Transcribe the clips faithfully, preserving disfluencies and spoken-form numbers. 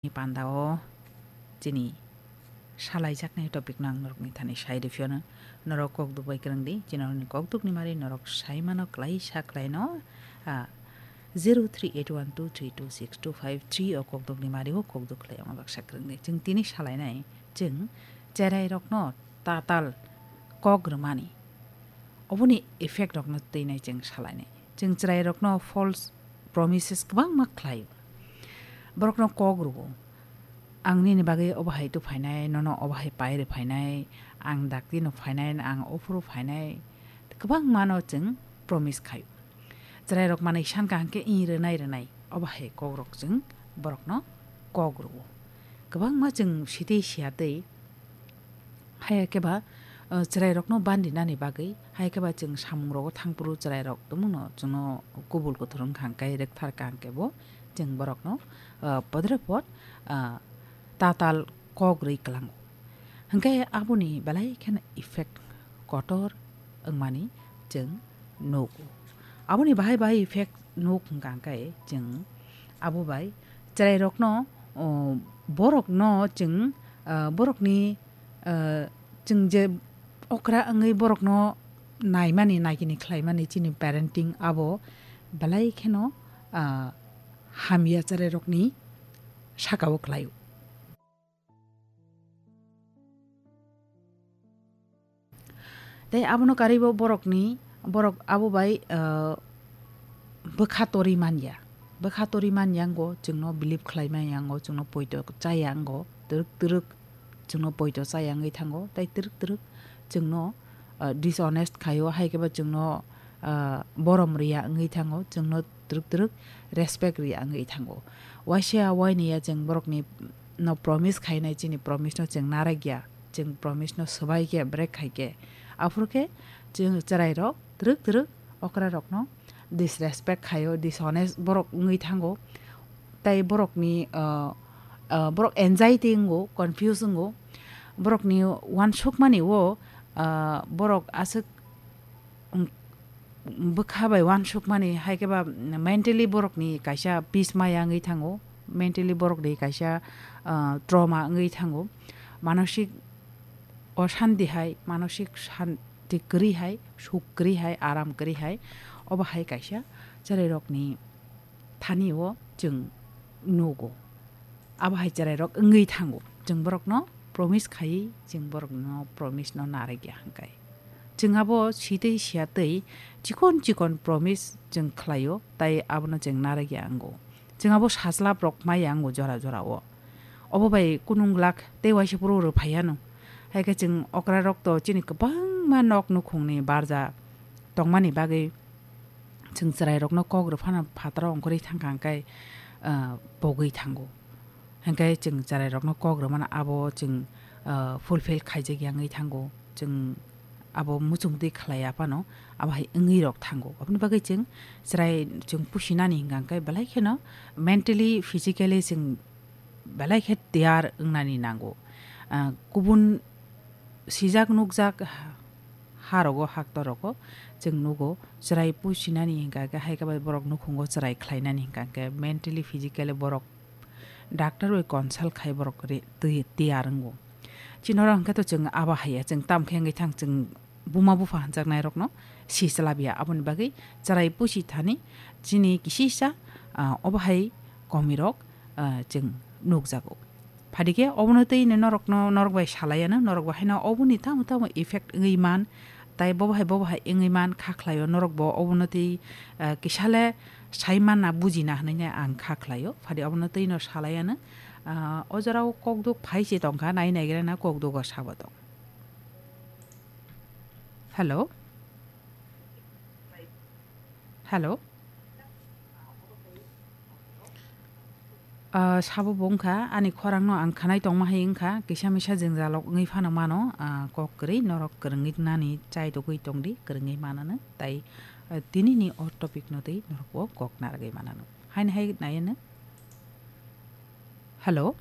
pandao chini salaijaknai topic no ang norokni thani sai rwphiyano. Norok kokduk bai kwrwngdi, chini norokni kokdukni mari norok saimano klaisa klaino, ah, zero three eight one two three two six two five three o kokdukni mari o kokduk khlai omo baksa kwrwngdi. Chwng tini salainai, chwng cherairokno tatal kok rwmani, oboni effect rokno twinai chwng salainai. Chwng cherairokno false promises kwbangma khlaio. Borokno kok rwo, "Ang nini bagwi obo hai tu phainai, nono obo hai pai rw phainai, ang dakti no phainai, ang ophuru phainai," kwbangmano chwng promise khaio. Cherairok manwi san kaham khe ing rwnai rwnai, obo hai kokrok chwng borokno kok rwo. Kwbangma chwng sitwi siya twi, hai khe ba, uh, cherairokno bandinani bagwi, hai khe ba chwng samungrogo thangphuru cherairok tongmungno chwngno kubul kuthur wngkha hwnkhe, rwkthar kha hwnkhe bo chwng borokno, uh, podre pod, uh, tatal kok rwi kwlango. Hwnkhe aboni belai kheno effect kotor wngmani chwng nugo. Aboni bahai bahai effect nuk hwnkha hwnkhe chwng abo bai cherairokno, o, borokno chwng, ah, borokni, ah, chwng je okra wngwi borokno naimani, naikini khlaimani chini parenting abo belai kheno, ah, hamya cherairokni sakao khlaio. Tei abono karwibo borokni, borok abo bai, ah, bwkha torwi manya. Bwkha torwi manya wngo, chwngno believe khlai manya wngo, chwngno poito chaya wngo, twrwk twrwk chwngno poito chaya wngwi thango, tei twrwk twrwk chwngno, ah, dishonest khaio, hai khe bo chwngno, ah, borom rwya wngwi thango, chwngno twrwk twrwk respect rwya wngwi thango. Waisa waini ya chwng borokni no promise khainai, chini promise no chwng narwkya, chwng promise no swbaikhe, break khaikhe, aphuru khe chwng chwrairok twrwk twrwk okrarokno disrespect khaio, dishonest borok wngwi thango. Tai borokni, ah, ah, borok anxiety wngo, confuse wngo, borokni uansukmani o, ah, borok aswk, um, bwkha bai uansukmani, hai khe ba mentally borokni kaisa peace maya wngwi thango, mentally borokni kaisa, ah, trauma wngwi thango, manosik oshanti hai, manosik shanti kwrwi hai, suk kwrwi hai, aram kwrwi hai, obo hai kaisa chwrairokni thani o chwng nugo. Abo hai chwrairok wngwi thango. Chwng borokno promise khaiwi chwng borokno promise no narwkya hwnkhe. Chwng abo sitwi siya twi chikon chikon promise chwng khlaio, tai abono chwng narwkya wngo. Chwng abo sajlabrok maya wngo jora jora o. Obo bai kunung glak tei waisa phuru rwphaiya no. Hai khe chwng okrarok to chini kwbangma nok nukhungni barja tongmani bagwi chwng chwrairokno kok rwphano phataro ongkhorwi thangkha hwnkhe, ah, pogwi thango. Hwnkhe chwng chwrairokno kok rwmano abo chwng, ah, fulfill khaijakya wngwi thango. Chwng abo muchungtwi khlaiya phano abo hai wngwi rok thango. Aboni bagwi chwng chwrai chwng pusinani hwnkha hwnkhe belai kheno mentally, physically chwng belai khe tiyar wngnani nango. Ah, kubun sijak nukjak ha-, harogo, haktorogo chwng nugo, chwrai pusinani hwnkha khe, hai khe bai borok nukhungo chwrai khlainani hwnkha khe mentally, physically borok doctor bai consult khai borok re-, twi-, tiyar wngo. Chini oro hwnkhe to chwng abo haiya, chwng tamo khe wngwi thang, chwng buma bupha hwnjaknairokno si chlabya. Aboni bagwi chwrai pusi thani chini kisisa, ah, obo hai komirok, ah, chwng nukjago. Phadikhe obono twi norokno, norok bai salaiya no, norok bo haino oboni tamo tamo effect wngwi man, tai bobo hai, bobo hai wngwi man kha khlaio, norok bo obono twi, ah, kisale sai manna bujina hwnwi ang kha khlaio. Phadi obono twi no salaiya no, ah, o jorao kokduk phai se tongkha, nai naigra na kokduk o sabo tong. Hello? Hello? Ah, sabo bo wngkha, ani khorangno ang khwnai tongma hai wngkha, kisa misa jwngjal rok wngwi phano mano, ah, kok kwrwi norok kwrwngwi nani chai tugwi tongdi, kwrwngwi manano, tai, ah, tinini o topic no twi norok bo kok narwgwi manano. Haini hai naiya no. Hello?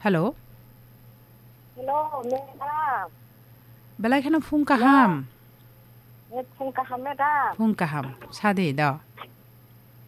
Hello? Hello, madam. Belai kheno phung kaham. Hello. Eh, phung kaham, madam. Phung kaham. Sadi do.